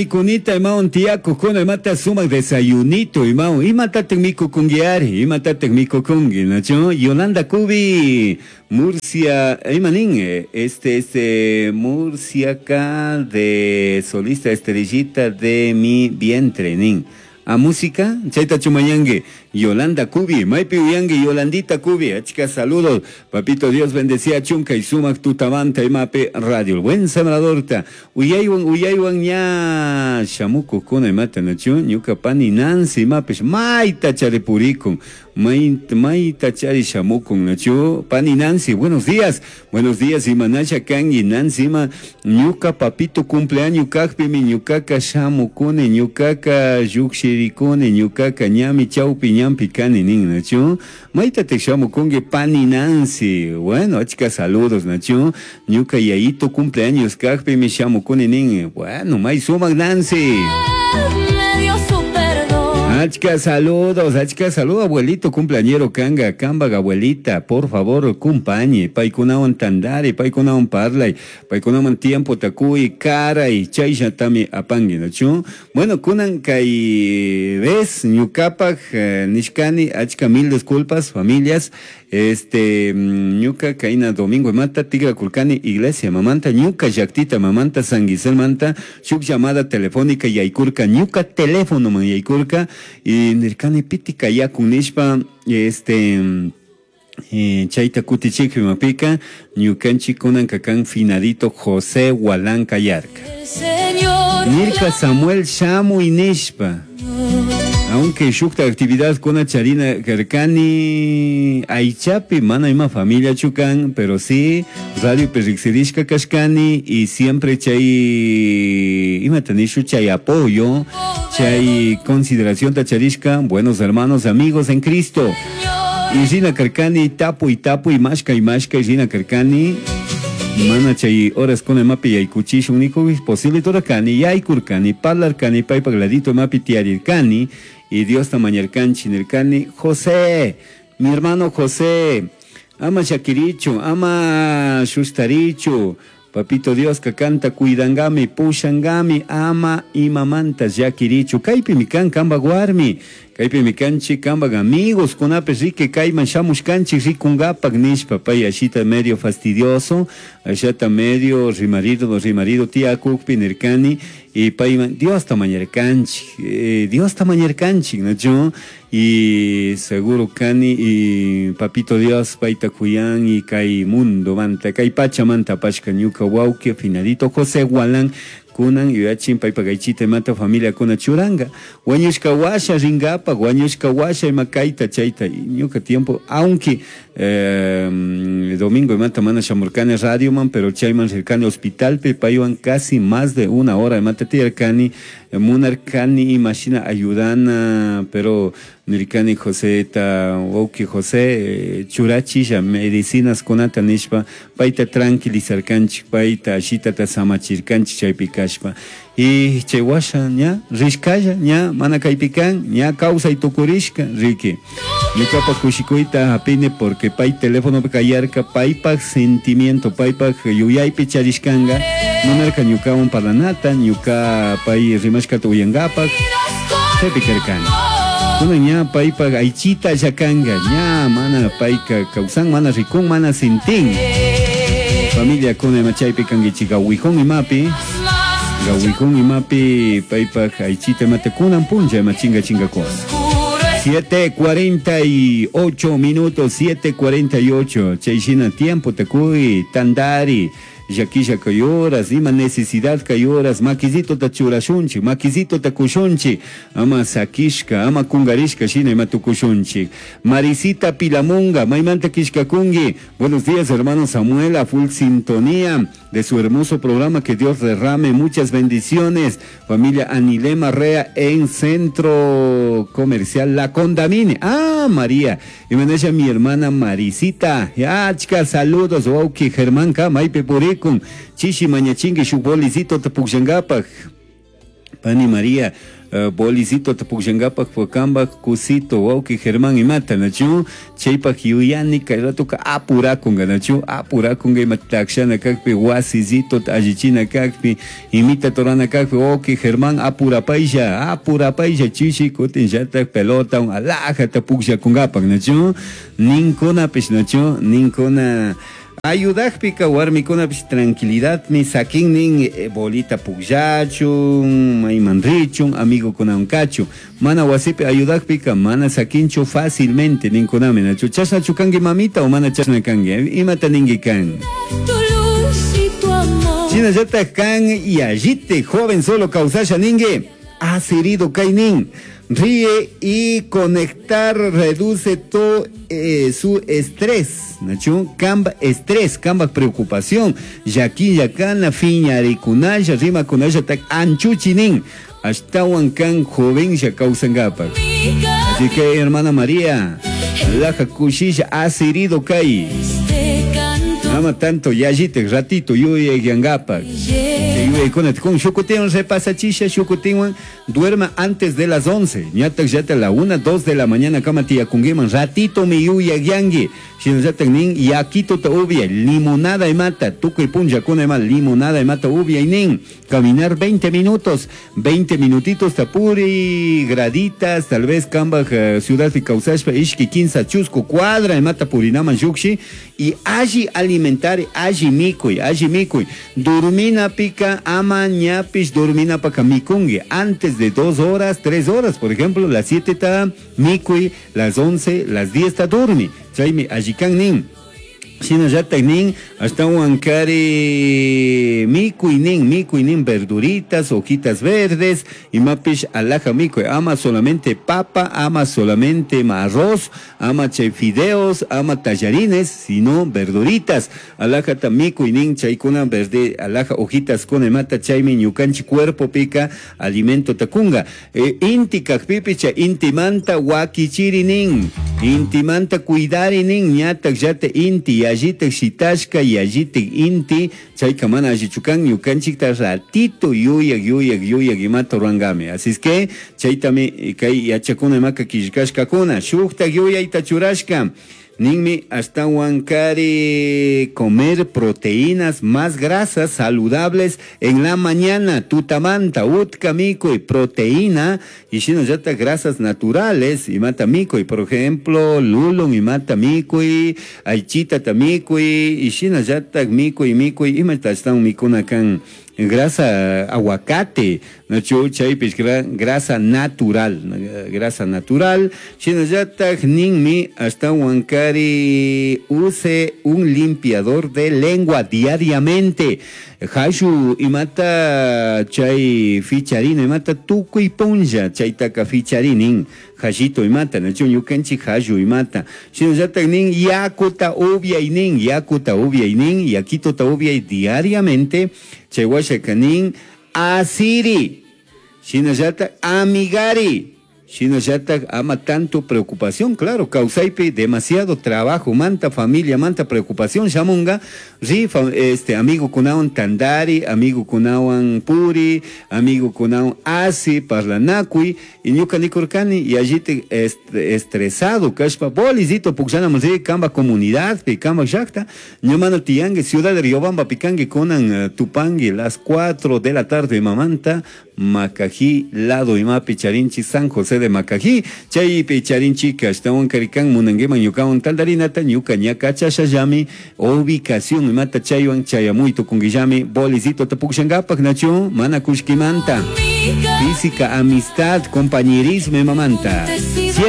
Mikunita imawan tiyakukuna imata sumak desayunito imawan imatataq mikukunki ari imatataq mikukunki nachu Yolanda Cubi Murcia ima nin este este Murciaca de solista estrellita de mi vientre nin a música chaytachu mañanki Yolanda Cubi maypi uyanki Yolandita Cubi achka saludos papito Dios bendeciachun kay sumak tutamanta imapi radio El Buen Sembradorta Uyaywan uyaywan ña shamukujkuna imata nachu ñuka pani Nancy imapish mayta chari purikun mayta chari shamukun nachu pani Nancy buenos días buenos días imanasha kanki Nancy ima ñuka papito cumpleaños kajpimi ñukaka shamukuni ñukaka llukshirikuni ñukaka ñami chawpi ñanpi kani nin nachu Maytataq shamukunki pani Nancy? Bueno, achka saludos, nachu? Ñuka yayito cumpleaños kajpimi shamukuni nin. Bueno, may sumak Nancy. Achka saludos, achka saludos, abuelito cumpleañero kanga, kambak abuelita, por favor, kumpañi, paykunawan tandari, paykunawan parlay, paykunawan tiempo takuy, karay, chayllatami apanki, nachu? Bueno, kunan kay vez ñukapak nishkani achka mil disculpas familias, este ñuka kayna domingo imata tigrakurkani iglesia mamanta ñuka llaktita mamanta San Giselmanta shuk llamada telefónica yaykurka ñuka teléfonoman yaykurka y nirkani piti kayakun nishpa este Chayta kutichikpi imapika ñukanchik kunanka kan finadito José Gualán kayarka. Nirka Samuel shamuy nishpa. Aunque shukta actividad kuna charina karkani aychapi mana ima familiachu kan, pero sí radiopi riksirishka kashkani y siempre chay imata nishu chay apoyo, chay consideracionta charishka, buenos hermanos, amigos en Cristo. Y rina karkani tapuy tapuy mashkay mashkay rina karkani mana chay horas kuna imapi yaykuchishun nikuy posible turakani yaykurkani parlarkani paypak ladito imapi tiyarirkani y Diosta mañarkanchik nirkani José mi hermano José ama llakirichu ama shushtarichu Papito Dioska kanta cuidangami, pushangami, ama imamanta llakirichu. Kaypimi kan kambak warmi, kaypimi kanchik kambak amigos, kunapish riki kayman shamushkanchik rikungapak nishpa, pay ashita medio fastidioso, ashata medio rimarido, rimarido tiyakukpi nirkani, y payman Diosta mañarkanchik, Diosta mañarkanchik, nachu? Y seguro kani y papito Dios payta kuyan y kay mundo manta, kay pachamanta apashka ñuka wawki finadito José Gualán kunan yuyachin paypak aychita imata familiakuna churanga wañushka washa ringapak wañushka washa ima kayta chayta ñuka tiempo aunque domingo imata mana shamurkani radioman pero chayman rirkani hospitalpi paywan casi más de una hora imata tiyarkani munarkani imashina ayudana pero nirkani Joseta wawki José churachisha medicinas kunata nishpa payta tranquilizarkanchik payta ashitata samachirkanchik chaypi kashpa y chay washa ña rishkalla ña mana kaypi kan ña kawsay tukurishka riki ñukapak kushikuyta hapini porque pay telefonopi kayarka paypak sentimiento paypak yuyaypi charishkanga munarka ñukawan parlanata ñuka pay rimashkata uyangapak chaypi karkani kunan ña paypak aychita llakanga ña mana payka kawsan mana rikun mana sintin familiakuna ima chaypi kankichik gawijón imapi gawijón imapi paypak aychita imata kunan punlla ima chinga chingakuna 7:48 minutos, 7:48. Chay shina tiempo takuy, tandari, llaquilla kay horas, ima necesidad kay horas, maquisitota churashunchik, maquisitota kushunchik, ama sakishka, ama kungarishka shina ima tukushunchik. Marisita Pilamunga, maymanta kishkakungi. Buenos días, hermano Samuel, a full sintonía de su hermoso programa, que Dios derrame muchas bendiciones. Familia Anilema Rea en Centro Comercial La Condamine. Ah, María. Y me mi hermana Marisita. Ya, chica, saludos. Wauki Germán Ka, maypi purikun. Chishi mañachingi shuk bolicito tapukllangapaj. Pani María, bolicito pukllankapak kambak kusito wawki Germán imata nachu chaypak yuyani kay ratoka apurakunga nachu apurakunga ima takshana kakpi wasisito allichina kakpi imita torana kakpi wawki Germán apurapaylla apurapaylla chishi kutinllatak pelota alajata pukllakunkapak nachu ninkunapish nachu ninkuna ayudakpika warmikunapish tranquilidadmi sakinnin bolita pukllachun mayman richun amigukunawan kachun mana wasipi ayudakpika mana sakinchu fácilmente ninkunami nachu chashnachu kanki mamita o mana chashna kanki imata ninki kan. Tu luz y tu amor. Shinallatak kan yallite joven solo kawsasha ninki asirido kaynin ríe y conectar reduce todo su estrés, nachu kamba estrés, kamba preocupación, yaki yakana fiñarikunalla rimakunalla tak anchuchinin ashtawan kan joven ya kawsankapak. Así que hermana María, laja kushilla asirido kay. Este canto Ama tanto yallite ratito yuyayyankapak. lleva Con shukutinwan repasachisha shukutinwan duerma antes de las 11 ñatak llata la 1 2 de la mañana kama tiyakunkiman ratito mi yuyayyanki shinallatak nin yakito ta ubia limonada imata tukuy punllakuna ima limonada imata ubia nin caminar 20 minutos 20 minutitos tapuri graditas tal vez kambaj ciudad kawsashpa ishki kinsa chusku cuadra imata purinaman llukshi y alli alimentar alli mikuy alli mikuy durmina pica ama ñapish durmina paka mikungi antes de 2 horas 3 horas por ejemplo las 7 ta mikuy las 11 las 10 ta durmi chaymi allikan nin shinallatak nin ashtawan kari mikuy nin mikuy nin verduritas hojitas verdes imapish alaja mikuy ama solamente papa ama solamente arroz ama chay fideos ama tallarines sino verduritas alajata mikuy nin chaykuna verde alaja hojitas kuna imata chaymi ñukanchik cuerpo pika alimento takunga inti kakpipi chay intimanta wakichiri nin intimanta cuidari nin ñatak llata inti yallitak shitashka yallitak inti chayka mana allichu kan ñukanchikta ratito yuyak yuyak yuyak imata rurankami así es que chaytami kay yachakuna imaka killkashkakuna shuktak yuyayta churashka ninmi ashtawan kari comer proteínas más grasas saludables en la mañana tutamanta utka mikuy proteína y shinallatak grasas naturales imata mikuy por ejemplo lulun imata mikuy aychita mikuy y shinallatak mikuy mikuy imata ashtawan mikuna kan grasa aguacate nachu chaypish grasa natural grasa natural shinallatak ninmi ashtawan kari use un limpiador de lengua diariamente hashu imata chay ficharina imata tukuy punlla chaytaka ficharinin hashito imata nachu ñukanchik hashu imata shinallatak nin yakuta upiaynin yakuta upiaynin yakituta upiay diariamente chay washaka nin asiri shinallatak amigari shinallatak ama tanto preocupación claro kawsaypi demasiado trabajo manta familia manta preocupación shamunga ri este amigo kunawan tandari amigo kunawan puri amigo kunawan asi parlanakuy y ñuka nikurkani y allí estresado kashpa bolisito pukllanaman ri kamba comunidad pi kamba llakta ñamana tiyanki ciudad de Riobamba pikanki kunan tupanki las 4 de la tarde mamanta Macají lado imapi charinchi San José de Macají chaypi charinchika ashtawan karikan munankiman ñukawan tandarinata ñuka ña kachashallami ubicación imata chaywan chayamuy tukunkillami bolisito tapukshankapak nachu mana kushkimanta física amistad compañerismo imamanta.